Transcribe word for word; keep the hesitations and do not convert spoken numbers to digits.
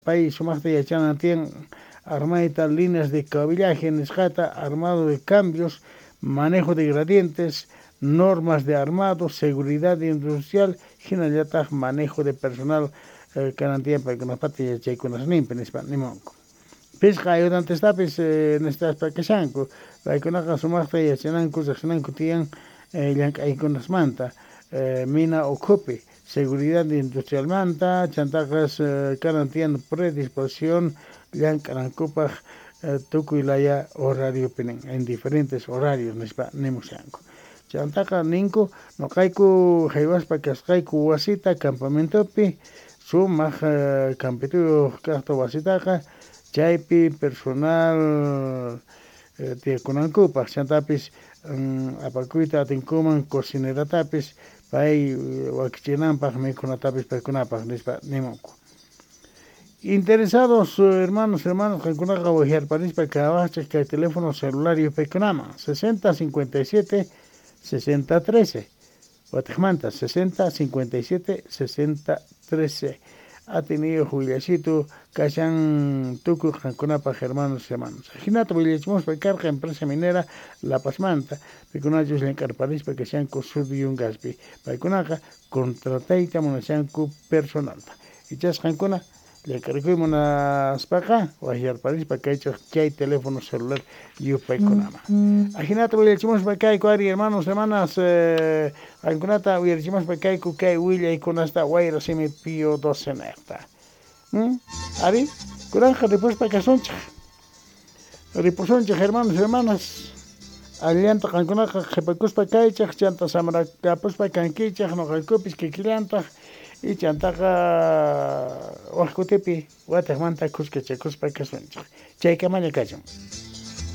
Pay sumaqta yachanan tiyan armayta líneas de cabillaje nisqata, armado de cambios, manejo de gradientes, normas de armado, seguridad industrial, hinallataq manejo de personal eh, kanan tiyan paykunapata yachaykunasninpi nispa nimunku. Pisqa ayudantestapis eh, nistaspa kashanku, paykunaqa sumaqta yachananku riqsinanku tiyan eh, llank'aykunasmanta eh, mina ukhupi, seguridad industrialmanta, chantaqas eh, kanan tiyan predisposición llank'anankupaq eh, tukuy laya horariopi nin, en diferentes horarios nispa nimushanku. Chantaqa ninku nuqayku haywaspa kasqayku wasita campamentopi sumaq eh, campituyuq kaqta wasitaqa chaypi personal eh, tiyakunankupaq chantapis mm, apakuyta atinkuman cocineratapis pay wakichinanpaq mikhunatapis paykunapaq nispa nimunku. Interesados hermanos, hermanas, qankunaqa waqyarparispa kawaqchik kay teléfono celular yupaykunaman sesenta cincuenta y siete sesenta trece watiqmanta sesenta cincuenta y siete sesenta trece atiniyuq willasitu kashan tukuy qankunapaq hermanos, hermanos. Hinata willachimuspa karqa empresa minera La Pazmanta pikunachus llank'arparispa kashanku Sud Yungaspi paykunaqa contratayta munashanku personalta ichas qankuna llank'arikuy munaspaqa waqyarparispa kaychaq chay teléfono celular yupaykunaman. Ajinata willachimuspa kayku ari hermanos, hermanas, eh, qankunata uyarichimuspa kayku kay willaykunasta wayra simi Pío doce niqta. ¿Mm? Ari, kunanqa ripuspa kasunchik. Ripusunchik hermanos, hermanas. Allanta qankunaqa qhipakuspa kaychaq, chanta samarakapuspa kankichaq, nuqaykupis kikillantaq y chantaqa waq kutipi watiqmanta kuskachakuspa kasunchik. Chaykamalla kachun.